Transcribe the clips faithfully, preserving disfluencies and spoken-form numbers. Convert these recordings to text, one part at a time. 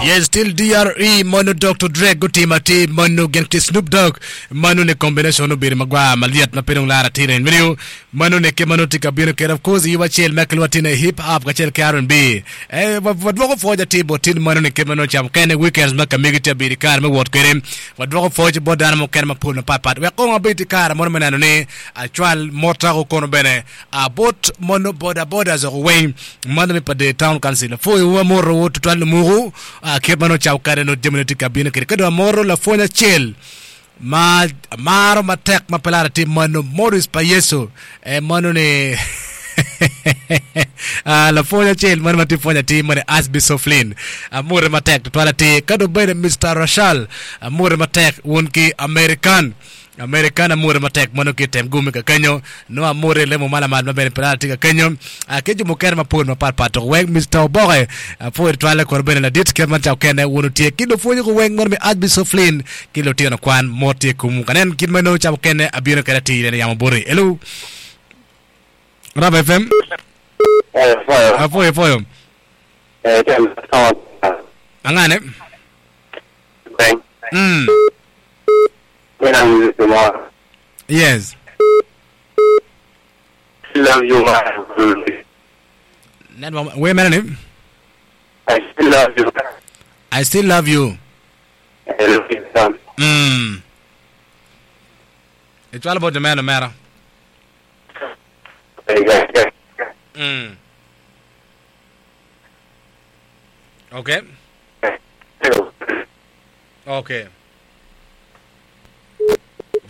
Yes, still D R E mono Doctor Dre gutima ti mono gin ki Snoop Dogg mono ni combination obedo magwar malyet ma pe dong lar atir en video mono ni ki mono tye ka bino kede. Of course, yub acel ma kilwa tine hip hop kacel ki R and B. Eh, wadwoko pwoc atir bot tin mono ni kit ma nongo camo kene weekends ma kamigi tye abedi kare me wot kwede. Wadwoko pwoc bot dano mukene mapol mapatpat wek kong abed i kare mono me neno ni acwal motako kono bene abot mono boda boda zoko weng mono mi pa the town council. Apwoyo amoto tutwal lumuku kit ma nongo camo kede nongo jami tye ka bino kede ka dong amoro lapwony acel ma amaro matek ma pe lar atir mono Morris pa Yesu eh, mono ni lapwony acel mono ma tye pwony atir mono Archbishop Flynn amore matek tutwal atir ka dong bene Mister Rashal amore matek wun ki American American amore matek mono ki tem gumi ka kenyo no amore lemo malamal ma bene pe lar atir ka kenyo ki jo mukene mapol mapatpat to weng Mister Oboke apwoyo tutwal kono bene ladit kit man cako kene wun otye ki lupwonye ko weng mono mi Archbishop Flynn ki lutino kwan mot tye kumu kanen kit ma nongo cako kene abino kede atir ene yamo boti. Hello, Rap F M. Apwoyo apwoyo. Angane mm yes. Love you. Network we mene ni I still love you. I still love you. I love you. mm icwalo bot jomeno mera. mm okay okay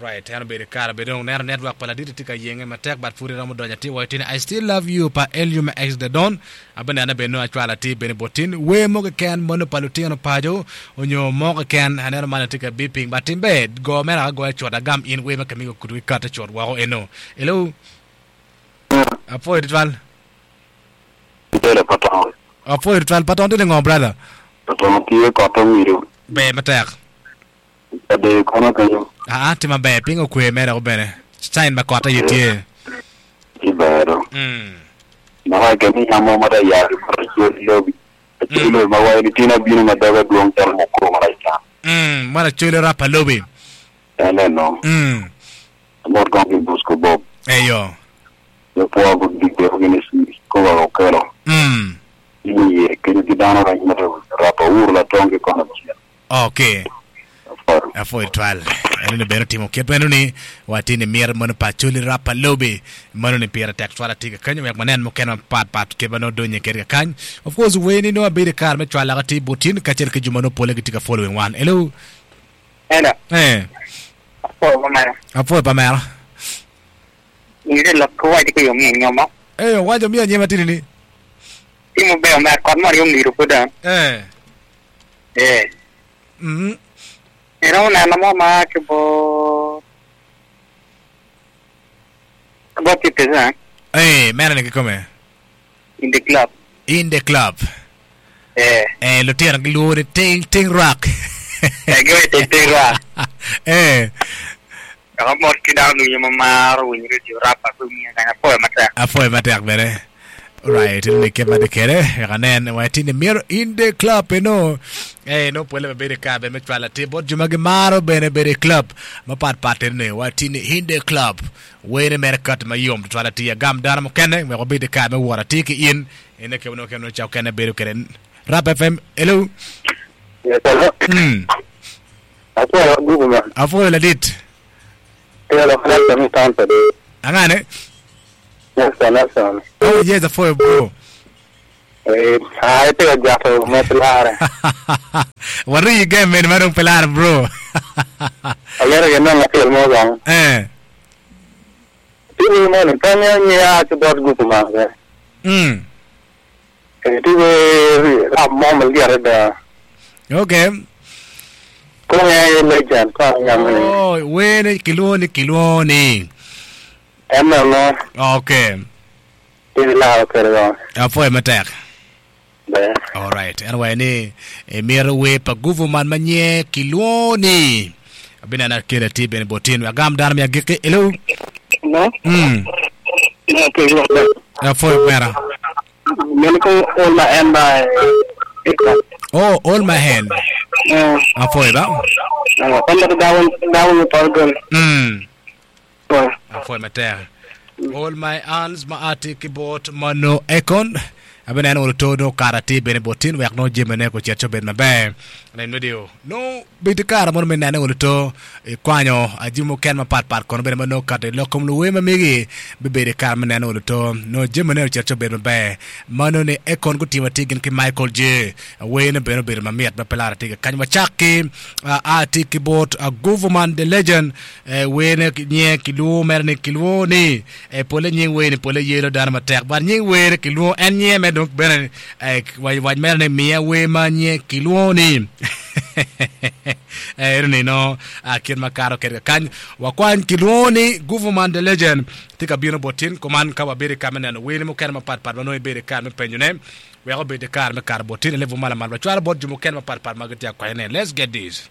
right, en obedo kare bedo dong neno network pa ladit tye ka yenge matek, but pud iromo donyo atir wa itini "I Still Love You" pa Elium X The Don. Abenene bene nongo acwalo atir bene botin wer mo keken mono pa lutino paco onyo mo keken aneno man tye ka beeping, but timbe go mere agoya cut agam in wer ma kamigo kudu kate cut woko eno. Hello, apwoyo tutwal. Tele patong. Apwoyo tutwal patong tye ngo, brother? Patong tye koto wido. Ber matek. Ade kono kenyo. Aa, tye maber piny okwe mere ko bene sign ma kot aye tye. Ibero. mm. Naka kemi yamo mata yari mata choli lobi. Choli lobi ma wai ni tina bino ma doga duong chalo moko mara. Mm, mwana choli rapa lobi. Ene no. mm. Amot kong ki Bosco Bob. Eyo. Yo po ko dike ko gini si ko wa okelo. mm. Ini ye kenyo ki dano ra mata rapa ur la tong ki kono chien. Okay. Afaro. Apwoyo twal eno ni bene otimo kit meno ni watini mir mono pa choli rapa lobi mono ni pire tek twal atir ka kenyo wek manen mukene mapatpat kit ma nongo donye kede ka kany. Of course, weni nongo abedo i kare me cwalo atir botin kacel ki jo ma nongo pole gitye ka following wan. Hello. Hello. Eh. Apwoyo pamera. Apwoyo pamera. Ingise lok ko wacho ko yo mi nyomo. Eh, wacho mi anyema tini ni. Timo be omer kot moro yo ngiro poda. Eh. Eh. Mm Ero neno mo ma ke bo bo fifty cent. Eh, mera ni kikome. In the club. In the club. Eh. Eh, lutino giluongo ni ting ting rock. Eh, giwe ting ting rock. Eh. Kaka mot ki dano lunyo ma maro winyo radio rap ko mi kanya apwoyo matek. Apwoyo matek bene. Right, ni kit ma kede wek anen wa tini miro "In the Club" eno eh no pole bedo ka be me cwalo atir bot jo ma gimaro bene bedo i club mapatpat ene wa tini "In the Club" wene mere kat mayom tutwal atir agam dano mukene wek wabed ka me wot atir ki in ene ke no kene caw kene bedo kede. Rap F M, hello. Yes, hello. mm. Apwoyo gugu ma. Apwoyo ladit. Telo Nelson mi town pede. Angane? Nelson, Nelson. Oh yes, apwoyo, bro. Eh, ah, ite jato mo pilare. Wari game men marong pelar, bro. Ayero ye nong atil mo gang. Eh. Tibi mo ni kanya ni a ki bot gugu ma. mm Eh, tibi rap mo mal gere da. Okay. Ko ye legend ko nyam ni. Oh, wene kilwoni kilwoni. Ema no. Okay. Tibi la kere go. Apwoyo matek. Be. Alright, anyway ni emiro we pa guvu man manye kilwoni abinena kede ti bene botin agam dano mi agiki. Hello. No. mm No ke yo. Apwoyo mera. Men ko ola en ba. Oh, hold my hand. Eh. Afoy ba. Eh, kon da dawon dawon porgol. Mm. Oh. Afoy matek. All my hands ma ati ki bot mano Akon. Abene no to no karati bene botin wek no jimene ko chet ben maber. Nen radio. No bit kara mo men nene to e kwanyo ajimo ken ma pat pat kono bene no kate lokom luwe ma migi be bede kara men nene to no jimene chet ben maber. Mano ne Akon ko tima tigin ki Michael J. We ne bene bene mamiet ma pelara tiga kany wachaki ati ki bot a government the legend we ne nye kiluo mer ne kiluo ni e pole nying we ne pole yelo dana matek bar nying we ne kiluo en nye me dok bene waj waj mer ne miya we ma nye kiluo ni eh ni no akir makaro ker kany wakwany kiluo ni government the legend tika bino botin koman ka wabere kamene no we ne mo ker ma pat pat no bere kar me penyo ne we go bede kar me kar botin le vumala mal wachwala bot jumo ken ma pat pat magati akwene. Let's get this.